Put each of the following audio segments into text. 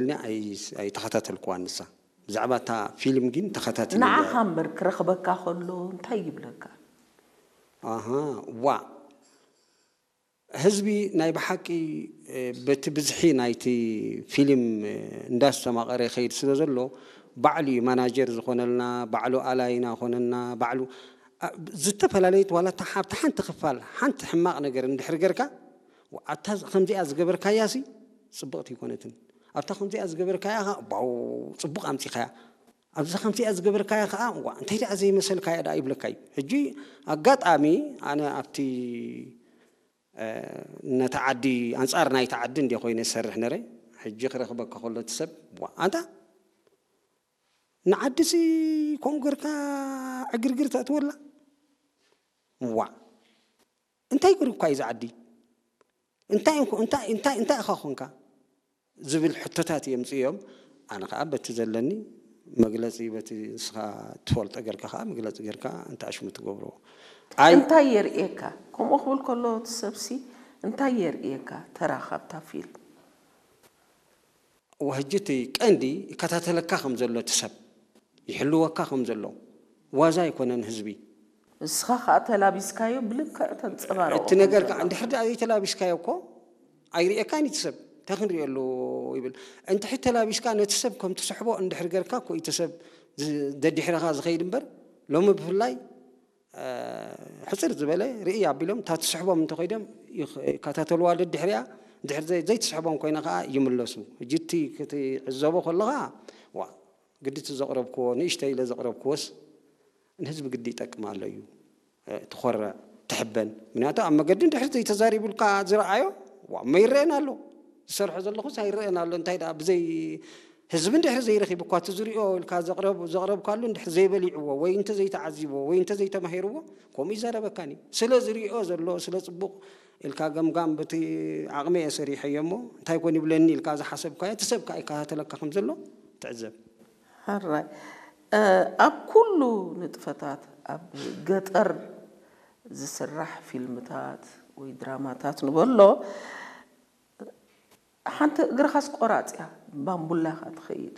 ኢልና ኣይ- ኣይተኸታተልኩዋን ንሳ። ብዛዕባ እታ ፊልም ግን ተኸታቲለ። ንዓኻ እምበር ክረኽበካ ከሎ እንታይ ይብለካ? ኣሃ፣ ዋ። ህዝቢ ናይ ብሓቂ፣ እ፣ በቲ ብዝሒ ናይቲ ፊልም፣ እ፣ እንዳስተማቐረ ይኸይድ ስለ ዘሎ፣ ባዕሉ እዩ ማናጀር ዝኾነልና፣ ባዕሉ ኣላይና ኮነና፣ ባዕሉ፣ ኣ፣ ዝተፈላለየት ዋላ እታ ሓ-፣ ኣብታ ሓንቲ ክፋል ሓንቲ ሕማቕ ነገር እንድሕር ገርካ፣ ዋ፣ ኣታ ከምዚኣ ዝገበርካያሲ ጽብቕቲ ኣይኮነትን፣ ኣብታ ከምዚኣ ዝገበርካያ ኸኣ፣ ዋው፣ ጽቡቕ ኣምጺኻያ፣ ኣብዛ ከምዚኣ ዝገበርካያ ኸኣ፣ ዋ፣ እንታይ ደኣ ዘይመሰልካያ ደኣ ይብለካ እዩ። ሕጂ ኣጋጣሚ ኣነ ኣብቲ ነቲ ዓዲ፣ ኣንጻር ናይቲ ዓዲ እንድየ ኮይነ ዝሰርሕ ነረ። ሕጂ ክረኽበካ ከሎ እቲ ሰብ፣ ዋ፣ ኣንታ ንዓዲሲ ከምኡ ገርካ ዕግርግር ተእትወላ? ዋ፣ እንታይ ገርኩካ እዩ እዚ ዓዲ? እንታይ እንኮ-፣ እንታይ እንታይ እንታይ ኢኻ ኮንካ? ዝብል ሕቶታት የምጽኡ እዮም። ኣነ ኸኣ በቲ ዘለኒ መግለጺ፣ በቲ ንስኻ ትፈልጦ ጌርካ ኸኣ መግለጺ ጌርካ እንተ ኣሽሙ ትገብሮ። ኣይ እንታይ የርእየካ? ከምኡ ክብል ከሎ እቲ ሰብሲ እንታይ የርእየካ? ተራ ካብታ ፊልም ወህጂ እቲ ቀንዲ ይከታተለካ ከም ዘሎ እቲ ሰብ፣ ይሕልወካ ከም ዘሎ፣ ዋዛ ኣይኮነን ህዝቢ። ንስኻ ከዓ ተላቢስካዮ ብልክዕ ተንፀባርቆ እቲ ነገር ከዓ እንድሕር ደኣ ዘይተላቢስካዮ እኮ ኣይርእየካን እቲ ሰብ። እንታይ ክንርእየሉ ይብል። እንድሕር ተላቢስካ ነቲ ሰብ ከም ትስሕቦ እንድሕር ገርካ እኮ እቲ ሰብ ዝ-፣ ደድሕረኻ ዝኸይድ እምበር፣ ሎሚ ብፍላይ፣ እ፣ ሕፅር ዝበለ ርእይ ኣቢሎም እታ ትስሕቦም እንተኸይዶም ይኽ-፣ ይከታተልዋ ደድሕሪኣ። እንድሕር ዘይ-፣ ዘይትስሕቦም ኮይና ከዓ ይምለሱ። ሕጂ እቲ ክትዕዘቦ ከለኻ፣ ዋ፣ ግዲ እቲ ዘቕረብክዎ፣ ንእሽተይ ኢለ ዘቕረብክዎስ ንህዝቢ ግዲ ይጠቅም ኣሎ እዩ። እ፣ ትኾርዕ፣ ትሕበን። ምክንያቱ ኣብ መገዲ እንድሕር ዘይተዛሪቡልካ ዝረኣዮ፣ ዋ፣ እሞ ይረአን ኣሎ። ዝሰርሖ ዘለኹስ ኣይረአን ኣሎ። እንታይ ደኣ ብዘይ ህዝቢ እንድሕር ዘይረኺቡ እኳ እቲ ዝሪኦ ኢልካ ዘቕረብ-፣ ዘቕረብካሉ እንድሕር ዘይበሊዕዎ ወይ እንተ ዘይተዓዚብዎ ወይ እንተ ዘይተማሂርዎ ከምኡ ይዛረበካን እዩ። ስለ ዝሪኦ ዘሎ፣ ስለ ጽቡቕ ኢልካ ገምጋም በቲ ዓቕሚ እየ ሰሪሐዮ እሞ እንታይ ኮን ይብለኒ ኢልካ ዝሓሰብካዮ እቲ ሰብ ከኣ ይከታተለካ ከም ዘሎ ትዕዘብ። ሕራይ እ፣ ኣብ ኩሉ ንጥፈታት ኣብ ገጠር ዝስራሕ ፊልምታት ወይ ድራማታት ንበሎ ሓንቲ እግርኻስ ቆራፅ እያ ባምቡላ ኢኻ ትኸይድ።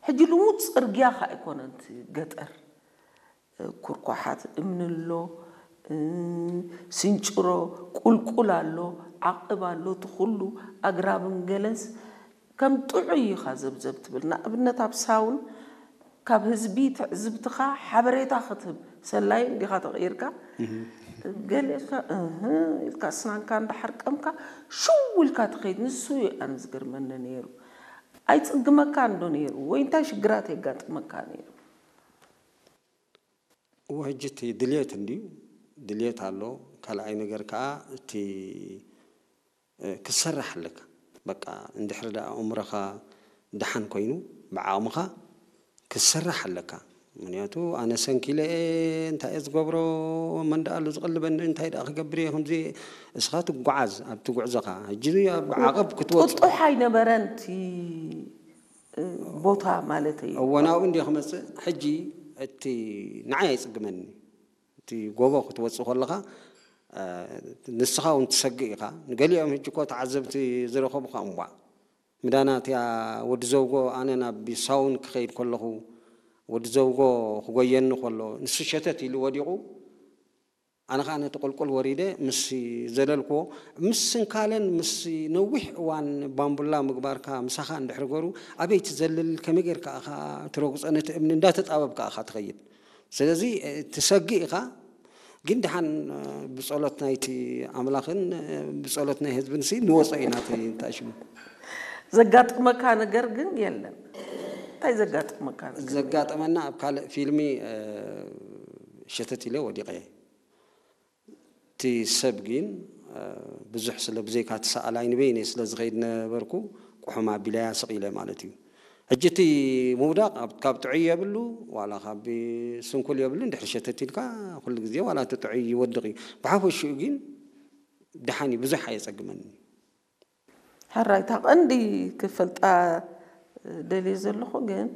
ሕጂ ልሙድ ፅርግያ ኸ ኣይኮነን እቲ ገጠር። ኩርኳሓት እምኒ ኣሎ፣ ስንጭሮ ቁልቁል ኣሎ፣ ዓቕብ ኣሎ፣ እቲ ኩሉ ኣግራብን ገለስ ከም ጥዑይ ኢኻ ዘብዘብ ትብል። ንኣብነት ኣብ ሳውን ካብ ህዝቢ ትዕዝብትኻ ሓበሬታ ክትህብ ሰላይ እንዲኻ ተቐይርካ ገለ ኢልካ እህ ኢልካ ስናንካ እንዳሓርቀምካ ሽው ኢልካ ትኸይድ። ንሱ እዩ ኣነ ዝገርመኒ ነይሩ። ኣይጽግመካን ዶ ነይሩ ወይ እንታይ ሽግራት የጋጥመካ ነይሩ? እወ፣ ሕጂ እቲ ድልየት እንድዩ፣ ድልየት ኣሎ። ካልኣይ ነገር ከኣ እቲ፣ እ፣ ክትሰርሕ ኣለካ። በቃ እንድሕሪ ደኣ ኣእምሮኻ ደሓን ኮይኑ ብዓቕምኻ ክትሰርሕ ኣለካ። ምክንያቱ ኣነ ሰንኪለ እየ፣ እንታይ እየ ዝገብሮ፣ መን ደኣ ኣሎ ዝቕልበኒ፣ እንታይ ደኣ ክገብር እየ፣ ከምዚ እስኻ ትጓዓዝ ኣብቲ ጉዕዞኻ። ሕጂ ኣብ ዓቐብ ክትወጽእ ጥጡሕ ኣይነበረን እቲ ቦታ ማለተይ እዩ። እወ፣ ናብኡ እንድየ ክመጽእ። ሕጂ እቲ ንዓይ ኣይጽግመኒ። እቲ ጎቦ ክትወጽእ ከለኻ፣ እ፣ ንስኻ እውን ትሰግእ ኢኻ። ንገሊኦም ሕጂ እኮ ተዓዘብቲ ዝረኸቡኻ እምቧ። ምዳና እቲኣ ወዲ ዘውጎ፣ ኣነ ናብ ሳውን ክኸይድ ከለኹ፣ ወዲ ዘውጎ ክጎየኒ ከሎ፣ ንሱ ሸተት ኢሉ ወዲቑ፣ ኣነ ኸዓ ነቲ ቁልቁል ወሪደ ምስ ዘለልክዎ፣ ምስ ስንካለን ምስ ነዊሕ እዋን ባምቡላ ምግባርካ ምሳኻ እንድሕር ገሩ፣ ኣበይ ትዘልል፣ ከመይ ጌርካ ኢኻ ትረግጾ፣ ነቲ እምኒ እንዳተጣበብካ ኢኻ ትኸይድ። ስለዚ፣ እ፣ ትሰግእ ኢኻ፣ ግን ደሓን፣ እ፣ ብጸሎት ናይቲ ኣምላኽን፣ እ፣ ብጸሎት ናይ ህዝብን ሲ ንወጾ ኢና እቲ እንታይ ሽሙ። ዘጋጥመካ ነገር ግን የለን። እንታይ ዘጋጥመካ ነገር? ዘጋጠመና ኣብ ካልእ ፊልሚ፣ እ፣ ሸተት ኢለ ወዲቐ። እቲ ሰብ ግን፣ እ፣ ብዙሕ ስለ ብዘይካ እቲ ሰኣላይ ንበይነይ ስለ ዝኸይድ ነበርኩ፣ ቁሑም ኣቢለያ ስቕ ኢለ ማለት እዩ። ሕጂ እቲ ምውዳቕ ኣብ-፣ ካብ ጥዑይ የብሉ፣ ዋላ ካብ ስንኩል የብሉ፣ እንድሕር ሸተት ኢልካ ኩሉ ግዜ ዋላ እቲ ጥዑይ ይወድቕ እዩ። ብሓፈሽኡ ግን ደሓን እዩ፣ ብዙሕ ኣየጸግመኒ። ሕራይ፣ እታ ቀንዲ ክፈልጣ ደልየ ዘለኹ ግን፣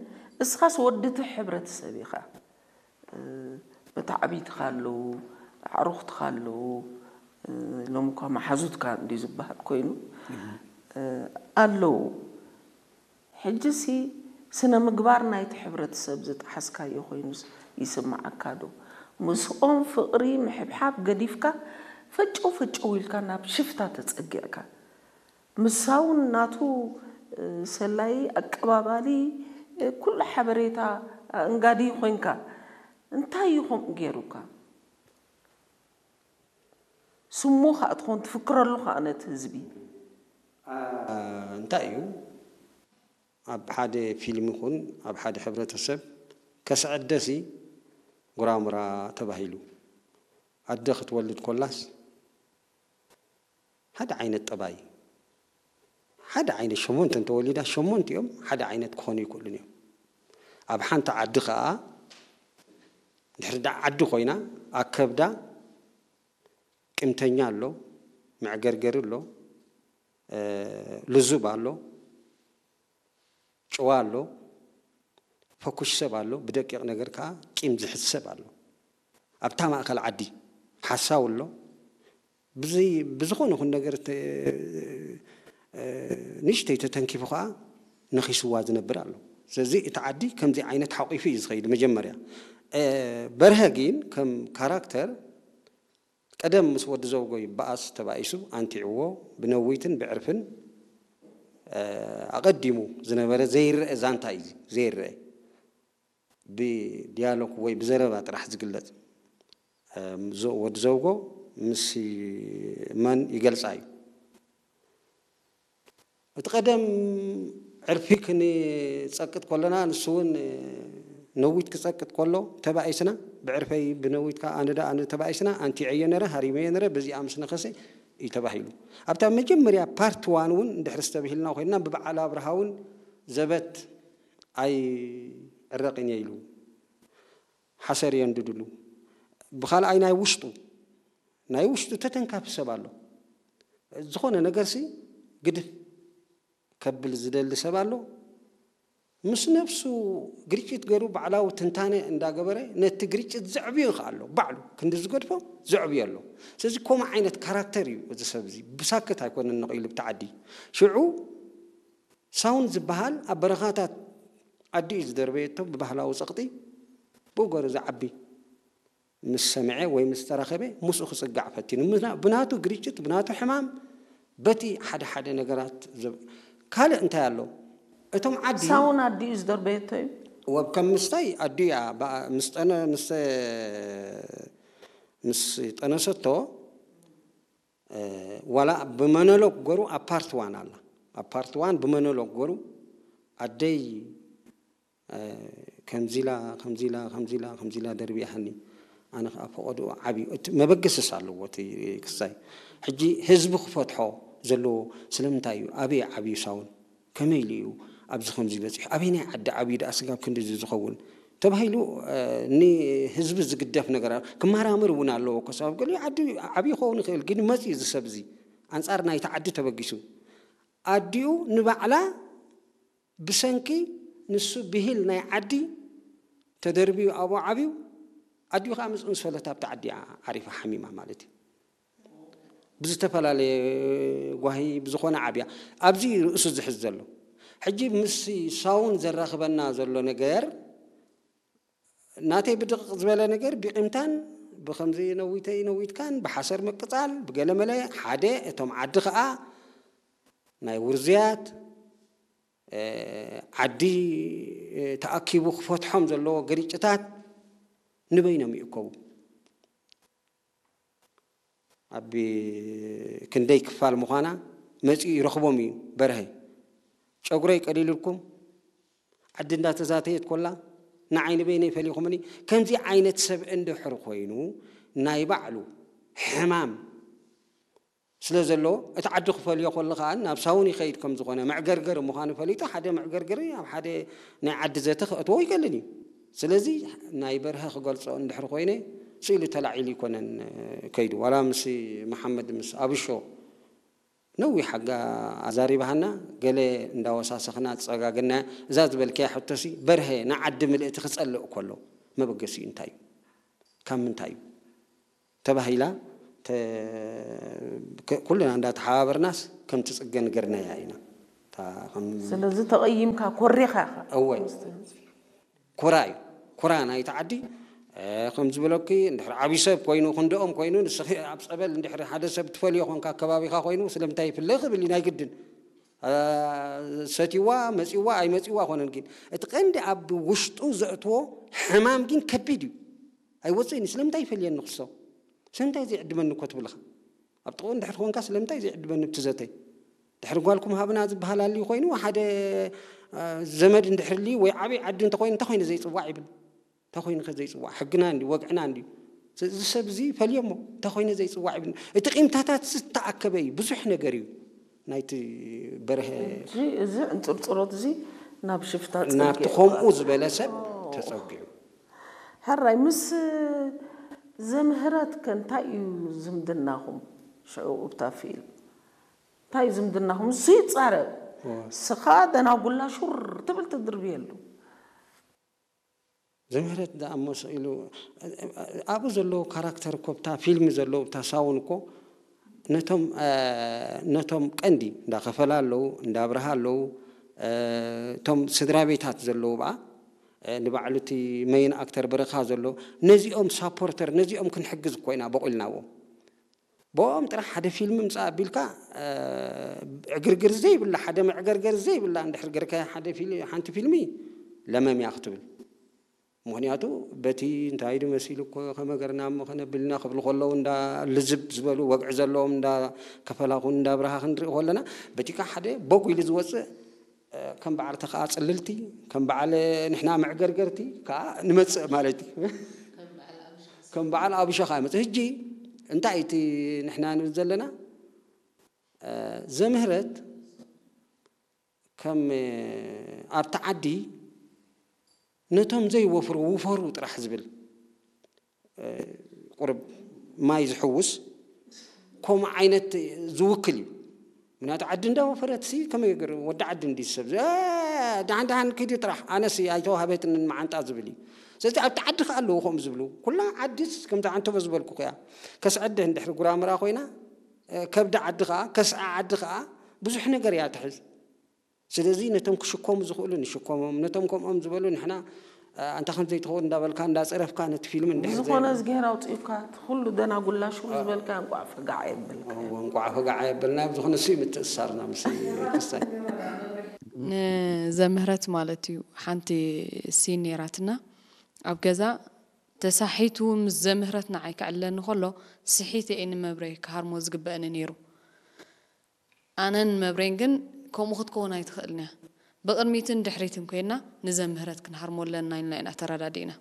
እስኻስ ወዲ እቲ ሕብረተሰብ ኢኻ። መታዕቢትኻ ኣለዉ፣ ኣዕሩኽትኻ ኣለዉ፣ ሎሚ እኳ መሓዙትካ እንድዩ ዝበሃል ኮይኑ፣ ኣለዉ። ሕጂሲ ስነ ምግባር ናይቲ ሕብረተሰብ ዝጠሓስካዮ ኮይኑ ይስምዓካ ዶ? ምስኦም ፍቕሪ ምሕብሓብ ገዲፍካ ፈጨው ፈጨው ኢልካ ናብ ሽፍታ ተጸጊዕካ፣ ምሳውን ናቱ ሰላይ ኣቀባባሊ ኩሉ ሓበሬታ ኣእንጋዲ ኮይንካ እንታይ እዩ ከምኡ ገይሩካ? ስሙ ከዓ ትኾን ትፍክረሉ ከዓ ነቲ ህዝቢ። እንታይ እዩ ኣብ ሓደ ፊልም ይኹን ኣብ ሓደ ሕብረተሰብ ከስዕደሲ ጉራሙራ ተባሂሉ ኣደ ክትወልድ ኮላስ ሓደ ዓይነት ጠባይ ሓደ ዓይነት ሸሞንተ እንተወሊዳ ሸሞንቲኦም ሓደ ዓይነት ክኾኑ ይክእሉን እዮም። ኣብ ሓንቲ ዓዲ ከዓ ድሕሪ ዳ ዓዲ ኮይና ኣከብዳ ቂምተኛ ኣሎ፣ መዕገርገሪ ኣሎ፣ ልዙብ ኣሎ፣ ጭዋ ኣሎ፣ ፈኩሽ ሰብ ኣሎ፣ ብደቂቕ ነገር ከዓ ቂም ዝሕዝ ሰብ ኣሎ። ኣብታ ማእከል ዓዲ ሓሳው ኣሎ፣ ብዝኾነ ይኹን ነገር ንእሽተይ ተተንኪፉ ከዓ ነኺስዋ ዝነብር ኣሎ። ስለዚ እቲ ዓዲ ከምዚ ዓይነት ሓቂፉ እዩ ዝኸይድ። መጀመርያ በርሀ ግን ከም ካራክተር ቀደም ምስ ወዲ ዘውጎ ይበኣስ ተባኢሱ ኣንቲዕዎ ብነዊትን ብዕርፍን ኣቐዲሙ ዝነበረ ዘይረአ ዛንታ እዩ። ዘይረአ ብዲያሎግ ወይ ብዘረባ ጥራሕ ዝግለጽ ወዲ ዘውጎ ምስ መን ይገልጻ እዩ። እቲ ቀደም ዕርፊ ክንጸቅጥ ከለና ንሱ እውን ነዊት ክጸቅጥ ከሎ ተባኢስና ብዕርፈይ ብነዊት ከዓ ኣነ ዳ ኣነ ተባኢስና ኣንቲዐዮ ነረ ሃሪመዮ ነረ በዚኣ ምስ ነኸሰ እዩ ተባሂሉ። ኣብታ መጀመርያ ፓርት ዋን እውን እንድሕር ዝተብሂልና ኮይንና ብበዓል ኣብርሃ እውን ዘበት ኣይዕረቕን እየ ኢሉ ሓሰር የንድድሉ። ብኻልኣይ ናይ ውሽጡ ናይ ውሽጡ ተተንካፊ ሰብ ኣሎ። ዝኾነ ነገርሲ ግድፍ ከብል ዝደሊ ሰብ ኣሎ። ምስ ነብሱ ግርጭት ገይሩ ባዕላዊ ትንታነ እንዳገበረ ነቲ ግርጭት ዘዕብዮ ይኽኣሎ ባዕሉ ክንዲ ዝገድፎ ዘዕብዮ ኣሎ። ስለዚ ከምኡ ዓይነት ካራክተር እዩ እዚ ሰብ እዚ ብሳክት ኣይኮነን ነቒሉ ብቲ ዓዲ። ሽዑ ሳውንድ ዝበሃል ኣብ በረኻታት ዓዲ እዩ ዝደርበየቶ ብባህላዊ ጸቕጢ ብኡ ገይሩ ዝዓቢ ምስ ሰምዐ ወይ ምስ ተራኸበ ምስኡ ክጽጋዕ ፈቲኑ ብናቱ ግርጭት ብናቱ ሕማም በቲ ሓደ ሓደ ነገራት ካልእ እንታይ ኣሎ እቶም ዓዲ ሳውን ኣዲኡ ዝደርበየቶ እዩ። ወብ ከም ምስታይ ኣዲኡ እያ ምስ ጠነ ምስ ምስ ጠነሰቶ ዋላ ብመኖሎግ ገሩ ኣብ ፓርት ዋን ኣላ ኣብ ፓርት ዋን ብመኖሎግ ገሩ ኣደይ ከምዚላ ከምዚላ ከምዚላ ከምዚላ ደርቢያሃኒ ኣነ ከዓ ፈቀድኡ ዓብዩ እቲ መበገስስ ኣለዎ እቲ ክሳይ ሕጂ ህዝቢ ክፈትሖ ዘለዎ ስለምንታይ እዩ ኣበይ ዓብዩ ሳውን ከመይ ኢሉ እዩ ኣብዚ ከምዚ በፂሑ ኣበይ ናይ ዓዲ ዓብዩ ደኣ ስጋብ ክንድዚ ዝኸውን ተባሂሉ ንህዝቢ ዝግደፍ ነገር ክመራመር እውን ኣለዎ እኮ ሰባብ ገሊኡ ዓዲ ዓብዩ ክኸውን ይኽእል ግን መፂ እዚ ሰብ እዚ ኣንፃር ናይቲ ዓዲ ተበጊሱ ኣዲኡ ንባዕላ ብሰንኪ ንሱ ብሂል ናይ ዓዲ ተደርብዩ ኣብኡ ዓብዩ ኣዲኡ ከዓ ምስ እንሰለት ኣብቲ ዓዲ ዓሪፋ ሓሚማ ማለት እዩ ብዝተፈላለየ ጓሂ ብዝኾነ ዓብያ ኣብዚ ርእሱ ዝሕዝ ዘሎ ሕጂ ምስ ሳውን ዘራኽበና ዘሎ ነገር ናተይ ብድቕቕ ዝበለ ነገር ብቂምታን ብከምዚ ነዊተይ ነዊትካን ብሓሰር ምቅፃል ብገለመለ ሓደ እቶም ዓዲ ከዓ ናይ ውርዙያት ዓዲ ተኣኪቡ ክፈትሖም ዘለዎ ግርጭታት ንበይኖም ይእከቡ ኣብ ክንደይ ክፋል ምዃና መፂኡ ይረኽቦም እዩ በርሀ ጨጉረይ ቀሊልልኩም ዓዲ እንዳተዛተየት ኮላ ንዓይ ንበይነይ ፈሊኹምኒ ከምዚ ዓይነት ሰብ እንድሕር ኮይኑ ናይ ባዕሉ ሕማም ስለ ዘለዎ እቲ ዓዲ ክፈልዮ ከሎ ከዓ ናብ ሳውን ይኸይድ ከም ዝኾነ መዕገርገር ምዃኑ ፈሊጡ ሓደ መዕገርገሪ ኣብ ሓደ ናይ ዓዲ ዘተ ክእትዎ ይቀልል እዩ ስለዚ ናይ በርሀ ክገልፆ እንድሕር ኮይነ ስኢሉ ተላዒሉ ይኮነን ከይዱ ዋላ ምስ መሓመድ ምስ ኣብሾ ነዊሕ ኣጋ ኣዛሪባሃና ገለ እንዳወሳሰኽና ዝፀጋግና እዛ ዝበልከያ ሕቶሲ በርሀ ንዓዲ ምልእቲ ክፀልእ ከሎ መበገሲኡ እንታይ እዩ ካብ ምንታይ እዩ ተባሂላ ኩልና እንዳተሓባበርናስ ከም ትፅገን ገርናያ ኢና ስለዚ ተቐይምካ ኮሪኻ ኢኻ። እወ። ኩራ እዩ። ኩራ ናይቲ ዓዲ፣ ከም ዝበለኪ፣ እንድሕር ዓብዪ ሰብ ኮይኑ፣ ክንደኦም ኮይኑ፣ ንስኺ ኣብ ጸበል እንድሕር ሓደ ሰብ ትፈልዮ ኮንካ፣ ከባቢኻ ኮይኑ፣ ስለምንታይ ይፍለ ክብል እዩ ናይ ግድን። ሰትይዋ መጺዋ ኣይመጺዋ ኣይኮነን፣ ግን እቲ ቀንዲ ኣብ ውሽጡ ዘእትዎ ሕማም ግን ከቢድ እዩ። ኣይወጽእን እዩ። ስለምንታይ ይፈልየኒ ክሶ? ስለምንታይ ዘይዕድመኒ እኮ ትብልኻ? ኣብ ጥቕኡ እንድሕር ኮንካ ስለምንታይ ዘይዕድመኒ ብቲ ዘተይ? ድሕሪ ጓልኩም ሃብና ዝበሃል ኣልዩ ኮይኑ፣ ሓደ ዘመድ እንድሕር ልዩ ወይ ዓብዪ ዓዲ እንተኮይኑ፣ እንታይ ኮይነ ዘይፅዋዕ ይብል። እንታይ ኮይነ ከ ዘይፅዋዕ? ሕግና እንድዩ፣ ወግዕና እንድዩ። እዚ ሰብ እዚ ፈልየሞ፣ እንታይ ኮይነ ዘይፅዋዕ ይብል። እቲ ቂምታታት ዝተኣከበ እዩ፣ ብዙሕ ነገር እዩ ናይቲ በርሀ። እዚ ዕንፅርፅሮት እዚ ናብ ሽፍታ ናብቲ ከምኡ ዝበለ ሰብ ተፀጊዑ። ሕራይ ምስ ዘምህረት ከ እንታይ እዩ ዝምድናኹም? ሽዑ እብታ ፊልም እንታይ እዩ ዝምድናኹም? እሱ ይፃረብ፣ ስኻ ደናጉላ ሹር ትብል ትድርብየሉ። ዘምህረት ደኣ እሞ ስኢሉ ኣብኡ ዘለዉ ካራክተር እኮ ብታ ፊልም ዘለዉ ብታ ሳውን እኮ ነቶም ነቶም ቀንዲ እንዳ ከፈላ ኣለዉ፣ እንዳ ኣብርሃ ኣለዉ፣ እቶም ስድራ ቤታት ዘለዉ ብኣ ንባዕሉ እቲ መይን ኣክተር ብርኻ ዘሎ ነዚኦም ሳፖርተር ነዚኦም ክንሕግዝ እኮ ኢና በቑልናዎም። ብኦም ጥራሕ ሓደ ፊልም ምፃእ ኣቢልካ ዕግርግር ዘይብላ ሓደ መዕገርገር ዘይብላ እንድሕር ገርካያ ሓደ ሓንቲ ፊልሚ ለመም እያ ክትብል። ምክንያቱ በቲ እንታይ ዱ መሲሉ እኮ ከመገርና እሞ ከነብልና ክብሉ ከለዉ እንዳ ልዝብ ዝበሉ ወግዒ ዘለዎም እንዳ ከፈላኹን እንዳ ብርሃ ክንርኢ ከለና በቲካ ሓደ ቦግ ኢሉ ዝወፅእ ከም በዓል ተኸኣ ፅልልቲ ከም በዓል ንሕና መዕገርገርቲ ከዓ ንመፅእ ማለት እዩ። ከም በዓል ኣብሸኻ ይመፅእ። ህጂ እንታይ እቲ ንሕና ንብል ዘለና ዘምህረት ከም ኣብቲ ዓዲ ነቶም ዘይወፍሩ ውፈሩ ጥራሕ ዝብል ቁርብ ማይ ዝሕውስ ከምኡ ዓይነት ዝውክል እዩ። ምክንያቱ ዓዲ እንዳወፈረት ሲ ከመይ ገይሩ ወዲ ዓዲ እንዲ ሰብ እ፣ ደሓን ደሓን ኪዲ ጥራሕ ኣነሲ ኣይተዋህበትንን መዓንጣ ዝብል እዩ። ስለዚ ኣብቲ ዓዲ ከኣ ኣለዉ ከምኡ ዝብሉ ኩላ ዓዲስ ከምዚ ዓንተቦ ዝበልኩ እያ። ከስዐደ እንድሕሪ ጉራምራ ኮይና እ፣ ከብዲ ዓዲ ከኣ ከስዐ ዓዲ ከኣ ብዙሕ ነገር እያ ትሕዝ። ስለዚ ነቶም ክሽከሙ ዝኽእሉ ንሽከሞም፣ ነቶም ከምኦም ዝበሉ ንሕና ኣንታ ከም ዘይትኸውን እንዳበልካ እንዳፀረፍካ ነቲ ፊልም እንድሕር ብዝኾነ እዝግሄር ኣውፂኡካ እቲ ኩሉ ደናጉላ ሽው ዝበልካ እንቋዕ ፈጋዕ የብልካ። እወ፣ እንቋዕ ፈጋዕ የበልና። ብዝኾነ እሱ ምትእስሳርና ምስ ክስታይ ንዘምህረት ማለት እዩ። ሓንቲ ሲን ነይራትና ኣብ ገዛ ተሳሒቱ ምስ ዘምህረት ንዓይ ክዕለኒ ከሎ ስሒተ እየ ንመብረይ ክሃርሞ ዝግበእኒ ነይሩ። ኣነን መብሬን ግን ከምኡ ክትከውን ኣይትኽእልን እያ። ብቕድሚትን ድሕሪትን ኮይና ንዘምህረት ክንሃርሞ ኣለና ኢልና ኢና ተረዳዲእና።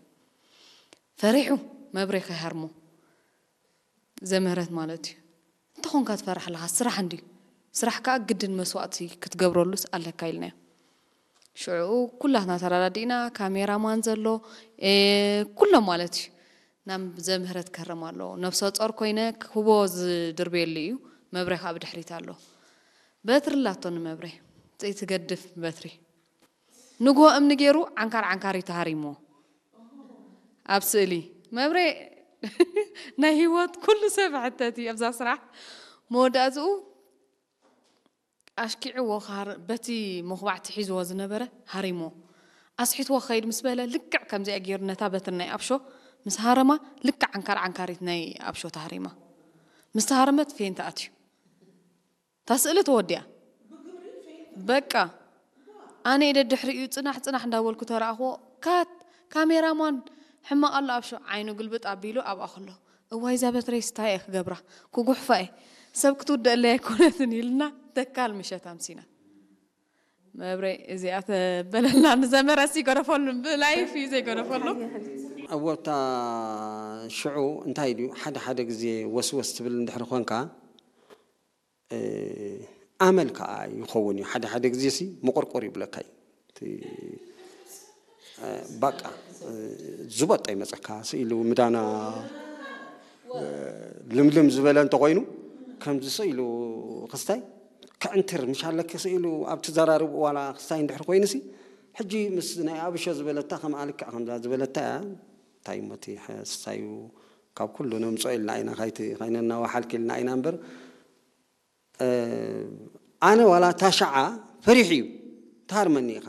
ፈሪሑ መብሬ ከይሃርሞ ዘምህረት ማለት እዩ። እንተኾንካ ትፈርሕ ኣለኻ ስራሕ እንድዩ። ስራሕ ከዓ ግድን መስዋእቲ ክትገብረሉስ ኣለካ ኢልናዮ። ሽዑ ኩላትና ተረዳዲእና ካሜራማን ዘሎ ኩሎም ማለት እዩ። ናብ ዘምህረት ከርም ኣለዎ። ነብሰ ጾር ኮይነ ክህቦ ዝድርብየሉ እዩ። መብሬ ከዓ ብድሕሪት ኣሎ። በትሪ ኣላቶ ንመብሬ። ትገድፍ በትሪ። ንግሆ እምኒ ገይሩ ዓንካር ዓንካር እዩ ተሃሪሞ። ኣብ ስእሊ መብሬ ናይ ህይወት ኩሉ ሰብ ሕተት እዩ ኣብዛ ስራሕ። መወዳእትኡ ኣሽኪዕዎ በቲ መኹባዕቲ ሒዝዎ ዝነበረ ሃሪሞ ኣስሒትዎ ክኸይድ ምስ በለ ልክዕ ከምዚኣ ገይሩ ነታ በትሪ ናይ ኣብሾ ምስ ሃረማ ልክዕ ዓንካር ዓንካሪት ናይ ኣብሾ ተሃሪማ ምስ ተሃረመት ፌንት ኣትዩ እታ ስእሊ ተወዲኣ በቃ ኣነ ኢደ ድሕሪኡ ፅናሕ ፅናሕ እንዳበልኩ ተረኣኽዎ ካት ካሜራማን ሕማቕ ኣሎ ኣብሾ ዓይኑ ግልብጥ ኣቢሉ ኣብኣ ከሎ እዋይ እዛ በትረይስ እንታይ እየ ክገብራ ክጉሕፋ እየ ሰብ ክትውደአለይ ኣይኮነትን ኢልና ተካል ምሸት ኣምሲና መብሬ እዚኣ ተበለልና ንዘመረሲ ይገደፈሉ ብላይፍ እዩ ዘይገደፈሉ እወታ ሽዑ እንታይ ድዩ ሓደ ሓደ ግዜ ወስወስ ትብል እንድሕር ኮንካ ኣመል ከዓ ይኸውን እዩ ሓደ ሓደ ግዜ ሲ መቆርቆር ይብለካ እዩ ባቃ ዝበጦ ይመፀካ ስኢሉ ምዳና ልምልም ዝበለ እንተኮይኑ ከምዚ ስኢሉ ክስታይ ክዕንትር ምሽ ኣለኪ ስኢሉ ኣብ ትዘራርብ ዋላ ክስታይ እንድሕር ኮይኑ ሲ ሕጂ ምስ ናይ ኣብሾ ዝበለታ ከም ኣልክዕ ከምዛ ዝበለታ እያ እንታይ ሞቲ ስሳዩ ካብ ኩሉ ነምፅኦ ኢልና ኢና ካይቲ ካይነናዋሓልክ ኢልና ኢና እምበር ኣነ ዋላ ታሽዓ ፈሪሑ እዩ። ትሃርመኒ ኢኻ።